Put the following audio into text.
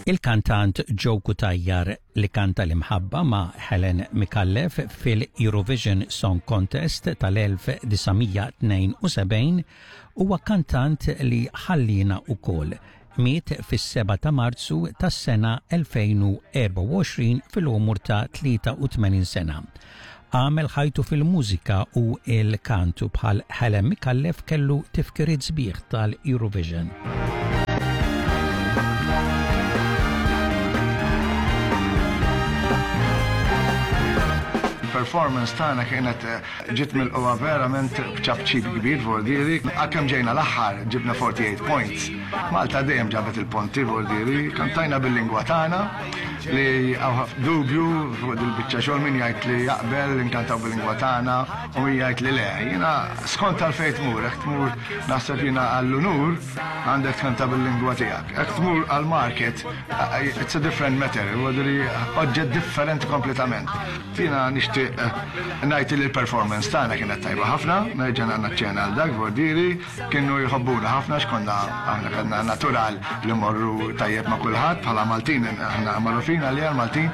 Il-kantant Joe Cutajar li kanta l-imħabba ma' Helen Micallef fil-Eurovision Song Contest tal-1972 huwa kantant li ħallina ukoll. Miet fis-7 ta' Marzu tas-sena 2024 fil-għomor ta' 83 sena. Għamel ħajtu fil-mużika u l-kant u bħal Helen Micallef kellu tifkiriet sbieħ tal-Eurovision. Il-performance tagħna kienet eh, ġiet milqugħa verament b'ċapċip kbir vordieri. Għalkemm ġejna l-aħħar ġibna 48 points. Malta dejjem ġabet il-ponti vordieri, kantajna bil-lingwa tagħna li hawn dubju fuq dil-biċċa xogħol min jgħid li jaqbel li nkantaw bil-lingwa tagħna u min jgħid li le. Jiena skont għalfejn tmur, jekk tmur naħseb jiena għall-unur għandek tkanta bil-lingwa tiegħek. Jekk tmur għall-market it's a different matter, oġġett differenti kompletament. Jiena nixtieq ngħid li l-performance tagħna kienet tajba ħafna, nerġa' naċċena għal dak vordieri, kienu jħobbuna ħafna x'konna aħna kellna natural li morru tajjeb ma' kulħadd bħala Maltin aħna magħrufin għaliha l-Maltin.